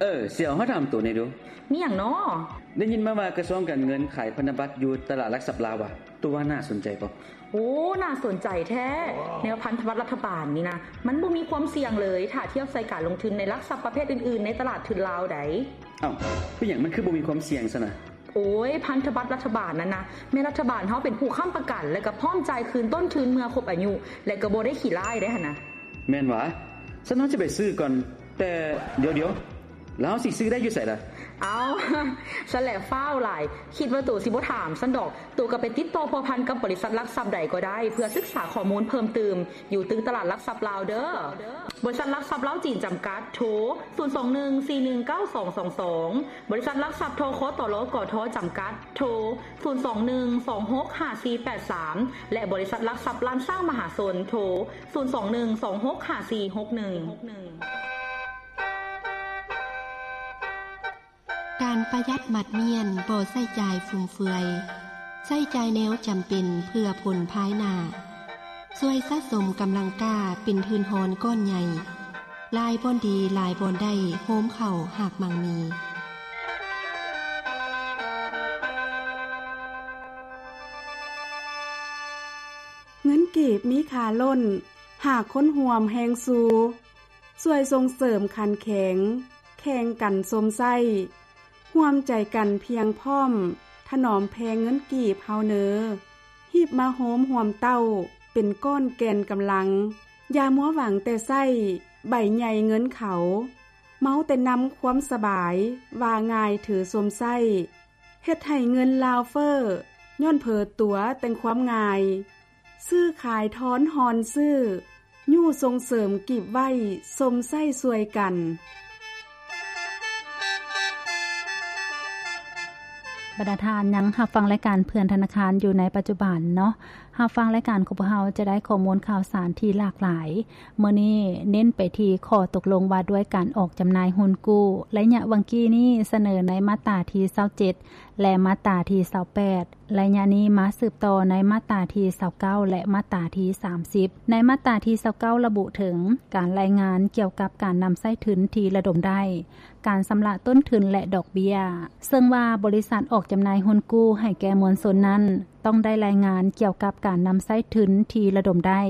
ເອີ ສຽວ ເຮົາຖາມໂຕແດ່ດູ. ມີຫຍັງນໍ? ໄດ້ຍິນມາວ່າກະຊວງການເງິນຂາຍພັນທະບັດຢູ່ຕະຫຼາດຫຼັກຊັບລາວຫວາ? ໂຕວ່າໜ້າສົນໃຈບໍ່? ໂອ້ ໜ້າສົນໃຈແທ້. ແນວພັນທະບັດລັດຖະບານນີ້ນະ ມັນບໍ່ມີຄວາມສ່ຽງເລີຍ ຖ້າທຽບໃສ່ການລົງທຶນໃນຫຼັກຊັບປະເພດອື່ນໆ ໃນຕະຫຼາດທຶນລາວໃດ໋. ເອົ້າ ເປັນຫຍັງມັນຄືບໍ່ມີຄວາມສ່ຽງຊັ້ນນະ? ໂອ້ຍ ພັນທະບັດລັດຖະບານນັ້ນນະ ແມ່ນລັດຖະບານເຮົາເປັນຜູ້ຄ້ຳປະກັນ ແລະກະພ້ອມຈ່າຍຄືນຕົ້ນທຶນເມື່ອຄົບອາຍຸ ແລະກະບໍ່ໄດ້ຂີ້ລ້າຍໄດຫັ້ນນະ. ແມ່ນຫວາ? ຊັ້ນເຮົາຊິໄປຊື້ກ່ອນ. ແຕ່ດຽວໆ ແລ້ວເຮົາຊິຊື້ໄດ້ຢູ່ໃສລະ? ເອົ້າ ຊັ້ນແຫຼະຟ້າວຫຼາຍ ຄິດວ່າໂຕຊິບໍ່ຖາມຊັ້ນດອກ. ໂຕກະໄປຕິດຕໍ່ພົວພັນກັບບໍລິສັດຫຼັກຊັບໃດກໍໄດ້ ເພື່ອສຶກສາຂໍ້ມູນເພີ່ມຕື່ມ ຢູ່ຕຶກຕະຫຼາດຫຼັກຊັບລາວເດີ້. ບໍລິສັດຫຼັກຊັບລາວຈີນຈຳກັດ ໂທ ສູນສອງໜຶ່ງສີ່ໜຶ່ງເກົ້າສອງສອງສອງ. ບໍລິສັດຫຼັກຊັບ ທຄຕລ ກທ ຈຳກັດ ໂທ ສູນສອງໜຶ່ງສອງຫົກຫ້າສີ່ແປດສາມ ແລະ ບໍລິສັດຫຼັກຊັບລ້ານຊ້າງມະຫາຊົນ ໂທ ສູນສອງໜຶ່ງສອງຫົກຫ້າສີ່ຫົກໜຶ່ງ. ການປະຢັດໝັດມ້ຽນ ບໍ່ໃຊ້ຈ່າຍຟຸມເຟືອຍ, ໃຊ້ຈ່າຍແນວຈຳເປັນເພື່ອຜົນພາຍໜ້າ, ຊ່ວຍສະສົມກຳລັງກ້າເປັນທຶນຮອນກ້ອນໃຫຍ່, ຫຼາຍບ່ອນດີ ຫຼາຍບ່ອນໄດ້ ໂຮມເຂົ້າຮາກໝັ່ງມີ. ເງິນກີບມີຄ່າລົ້ນ ຫາກຄົນຮ່ວມແຮງຊູ, ຊ່ວຍສົ່ງເສີມຂັນແຂງ ແຂ່ງກັນຊົມໃຊ້, ຮ່ວມໃຈກັນພຽງພ້ອມ ຖະໜອມແພງເງິນກີບເຮົາເນີ, ຮີບມາໂຮມຮ່ວມເຕົ້າ ເປັນກ້ອນແກ່ນກຳລັງ, ຢ່າມົວຫວັງແຕ່ໃຊ້ໃບໃຫຍ່ເງິນເຂົາ, ເມົາແຕ່ນຳຄວາມສະບາຍ ວ່າງ່າຍຖືຊົມໃຊ້. ເຮັດໃຫ້ເງິນລາວເຟີ້ ຍ້ອນເຜີຕົວແຕ່ງຄວາມງ່າຍ, ຊື້ຂາຍທອນຮອນຊື້, ຍູ້ສົ່ງເສີມກີບໄວ້ຊົມໃຊ້ຊ່ວຍກັນ. ບັນດາທ່ານຍັງຮັບຟັງລາຍການເພື່ອນທະນາຄານຢູ່ໃນປັດຈຸບັນເນາະ. ຮັບຟັງລາຍການຂອງພວກເຮົາຈະໄດ້ຂໍ້ມູນຂ່າວສານທີ່ຫຼາກຫຼາຍ. ມື້ນີ້ເນັ້ນໄປທີ່ຂໍ້ຕົກລົງວ່າດ້ວຍການອອກຈຳໜ່າຍຮຸ້ນກູ້ ໄລຍະຫວ່າງກີ້ນີ້ສະເໜີໃນມາດຕາທີຊາວເຈັດ ແລະ ມາດຕາທີຊາວແປດ. ໄລຍະນີ້ມາສືບຕໍ່ໃນມາດຕາທີຊາວເກົ້າ ແລະ ມາດຕາທີສາມສິບ. ໃນມາດຕາທີຊາວເກົ້າລະບຸເຖິງການລາຍງານກ່ຽວກັບການນຳໃຊ້ທຶນທີ່ລະດົມໄດ້, ການຊຳລະຕົ້ນທຶນ ແລະ ດອກເບ້ຍ, ເຊິ່ງວ່າບໍລິສັດອອກຈຳໜ່າຍຮຸ້ນກູ້ໃຫ້ແກ່ມວນຊົນນັ້ນ ຕ້ອງໄດ້ລາຍງານກ່ຽວກັບການນຳໃຊ້ທຶນທີ່ລະດົມໄດ້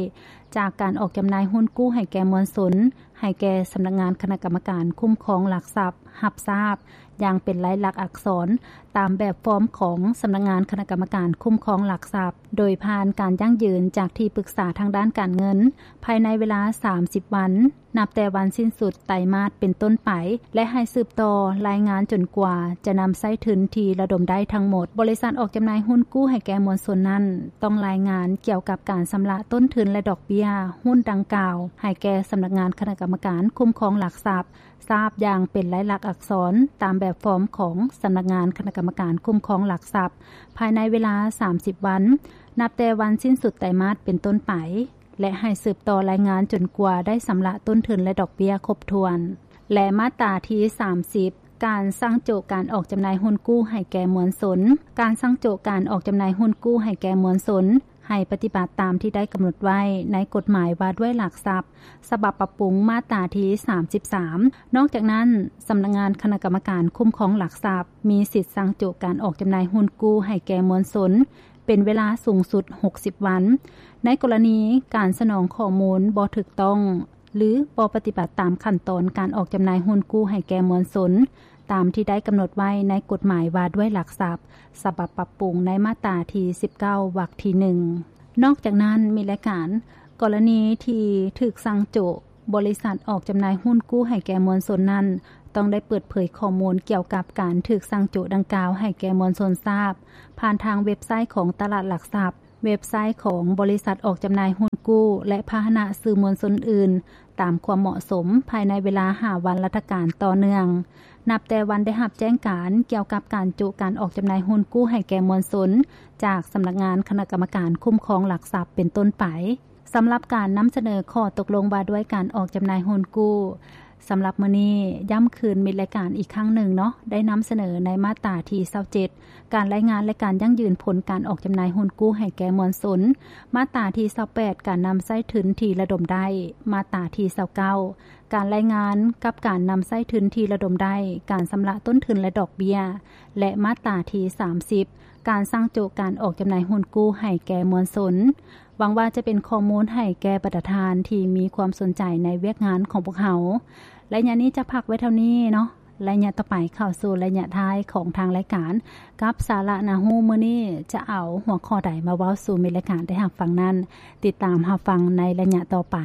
ຈາກການອອກຈຳໜ່າຍຮຸ້ນກູ້ໃຫ້ແກ່ມວນຊົນ ໃຫ້ແກ່ສຳນັກງານຄະນະກຳມະການຄຸ້ມຄອງຫຼັກຊັບຮັບຊາບ ຢ່າງເປັນລາຍລັກອັກສອນ ຕາມແບບຟອມຂອງສຳນັກງານຄະນະກຳມະການຄຸ້ມຄອງຫຼັກຊັບ ໂດຍຜ່ານການຢັ້ງຢືນຈາກທີ່ປຶກສາທາງດ້ານການເງິນ ພາຍໃນເວລາສາມສິບວັນ ນັບແຕ່ວັນສິ້ນສຸດໄຕມາດເປັນຕົ້ນໄປ ແລະ ໃຫ້ສືບຕໍ່ລາຍງານຈົນກວ່າຈະນຳໃຊ້ທຶນທີ່ລະດົມໄດ້ທັງໝົດ. ບໍລິສັດອອກຈຳໜ່າຍຮຸ້ນກູ້ໃຫ້ແກ່ມວນຊົນນັ້ນ ຕ້ອງລາຍງານກ່ຽວກັບການຊຳລະຕົ້ນທຶນ ແລະ ດອກເບ້ຍຮຸ້ນດັ່ງກ່າວ ໃຫ້ແກ່ສຳນັກງານຄະນະກຳມະການຄຸ້ມຄອງຫຼັກຊັບ ຊາບຢ່າງເປັນລາຍລັກອັກສອນ ຕາມແບບຟອມຂອງສຳນັກງານຄະນະກຳມະການຄຸ້ມຄອງຫຼັກຊັບ ພາຍໃນເວລາສາມສິບວັນ ນັບແຕ່ວັນສິ້ນສຸດໄຕມາດເປັນຕົ້ນໄປ ແລະ ໃຫ້ສືບຕໍ່ລາຍງານຈົນກວ່າໄດ້ຊຳລະຕົ້ນທຶນ ແລະ ດອກເບ້ຍຄົບຖ້ວນ. ແລະ ມາດຕາທີສາມສິບ ການສັ່ງໂຈະການອອກຈຳໜ່າຍຮຸ້ນກູ້ໃຫ້ແກ່ມວນຊົນ. ການສັ່ງໂຈະການອອກຈຳໜ່າຍຮຸ້ນກູ້ໃຫ້ແກ່ມວນຊົນ ໃຫ້ປະຕິບັດຕາມທີ່ໄດ້ກຳນົດໄວ້ໃນກົດໝາຍວ່າດ້ວຍຫຼັກຊັບ ສະບັບປັບປຸງ ມາດຕາທີສາມສິບສາມ. ນອກຈາກນັ້ນ, ສຳນັກງານຄະນະກຳມະການຄຸ້ມຄອງຫຼັກຊັບ ມີສິດສັ່ງໂຈະການອອກຈຳໜ່າຍຮຸ້ນກູ້ໃຫ້ແກ່ມວນຊົນ ເປັນເວລາສູງສຸດຫົກສິບວັນ ໃນກໍລະນີການສະໜອງຂໍ້ມູນບໍ່ຖືກຕ້ອງ ຫຼື ບໍ່ປະຕິບັດຕາມຂັ້ນຕອນການອອກຈຳໜ່າຍຮຸ້ນກູ້ໃຫ້ແກ່ມວນຊົນ ຕາມທີ່ໄດ້ກຳນົດໄວ້ໃນກົດໝາຍວ່າດ້ວຍຫຼັກຊັບ ສະບັບປັບປຸງໃນມາດຕາທີສິບເກົ້າ ວັກທີໜຶ່ງ. ນອກຈາກນັ້ນ, ມີລາຍການ ກໍລະນີທີ່ຖືກສັ່ງໂຈະ, ບໍລິສັດອອກຈຳໜ່າຍຮຸ້ນກູ້ໃຫ້ແກ່ມວນຊົນນັ້ນ ຕ້ອງໄດ້ເປີດເຜີຍຂໍ້ມູນກ່ຽວກັບການຖືກສັ່ງໂຈະດັ່ງກ່າວໃຫ້ແກ່ມວນຊົນຊາບ ຜ່ານທາງເວັບໄຊຂອງຕະຫຼາດຫຼັກຊັບ, ເວັບໄຊຂອງບໍລິສັດອອກຈຳໜ່າຍຮຸ້ນກູ້ ແລະ ພາຫະນະສື່ມວນຊົນອື່ນ ຕາມຄວາມເໝາະສົມ ພາຍໃນເວລາຫ້າວັນລັດຖະການຕໍ່ເນື່ອງ ນັບແຕ່ວັນໄດ້ຮັບແຈ້ງການກ່ຽວກັບການໂຈະການອອກຈຳໜ່າຍຮຸ້ນກູ້ໃຫ້ແກ່ມວນຊົນ ຈາກສຳນັກງານຄະນະກຳມະການຄຸ້ມຄອງຫຼັກຊັບເປັນຕົ້ນໄປ. ສຳລັບການນຳສະເໜີຂໍ້ຕົກລົງວ່າດ້ວຍການອອກຈຳໜ່າຍຮຸ້ນກູ້, ສຳລັບມື້ນີ້ ຢ້ຳຄືນມິດລາຍການອີກຄັ້ງໜຶ່ງເນາະ ໄດ້ນຳສະເໜີໃນມາດຕາທີຊາວເຈັດ ການລາຍງານ ແລະ ການຢັ້ງຢືນຜົນການອອກຈຳໜ່າຍຮຸ້ນກູ້ໃຫ້ແກ່ມວນຊົນ, ມາດຕາທີຊາວແປດ ການນຳໃຊ້ທຶນທີ່ລະດົມໄດ້, ມາດຕາທີຊາວເກົ້າ ການລາຍງານກັບການນຳໃຊ້ທຶນທີ່ລະດົມໄດ້, ການຊຳລະຕົ້ນທຶນ ແລະ ດອກເບ້ຍ ແລະ ມາດຕາທີສາມສິບ ການສັ່ງໂຈະການອອກຈຳໜ່າຍຮຸ້ນກູ້ໃຫ້ແກ່ມວນຊົນ. ຫວັງວ່າຈະເປັນຂໍ້ມູນໃຫ້ແກ່ບັນດາທ່ານທີ່ມີຄວາມສົນໃຈໃນວຽກງານຂອງພວກເຮົາ. ໄລຍະນີ້ຈະພັກໄວ້ເທົ່ານີ້ເນາະ. ໄລຍະຕໍ່ໄປເຂົ້າສູ່ໄລຍະທ້າຍຂອງທາງລາຍການ ກັບສາລະໜ້າຮູ້ມື້ນີ້ ຈະເອົາຫົວຂໍ້ໃດມາເວົ້າສູ່ມິດລາຍການໄດ້ຮັບຟັງນັ້ນ, ຕິດຕາມຮັບຟັງໃນໄລຍະຕໍ່ໄປ.